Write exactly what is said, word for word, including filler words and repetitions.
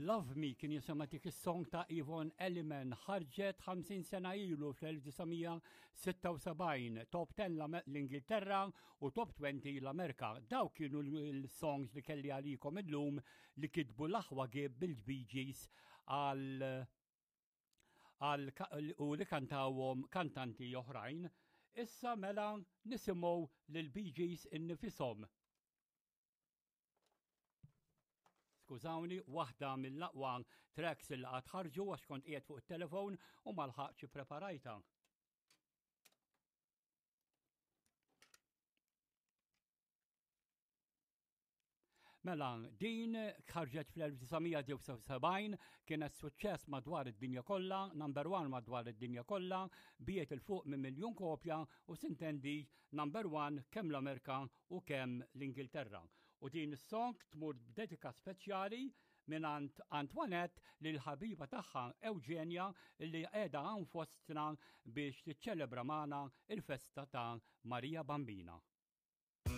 Love Me kien jisimha dik is-song ta' Yvonne Elliman, ħarġet ħamsin sena ilu fl-elf disa' mija sitta u sebgħin, top ten l-Ingilterra u top twenty l-Amerika. Dawk kienu l-songs li kelli għalikom illum li kitbu l-aħwa Gibb bil-Bee Gees għal għal u li kantawhom kantanti oħrajn. Issa mela nisimgħu lil Bee Gees innifisom. Skużawni, waħda mill-aqwa tracks li qatt ħarġu għax kont qiegħed fuq it-telefon u ma lħaqtx ippreparajta. Mela, din ħarġet fl-elf disa' mija disgħa u sebgħin, kienet suċċess madwar id-dinja kollha, number one madwar id-dinja kollha, biet il fuq minn miljun kopja u sintendi number one kemm l-Amerika u kemm l-Ingilterra. U din is-song tmur b'dedika speċjali mingħand Antoinette lil ħabiba tagħha Eugenia li qiegħda hawn fostna biex tiċċelebra magħna il-festa ta' Marija Bambina.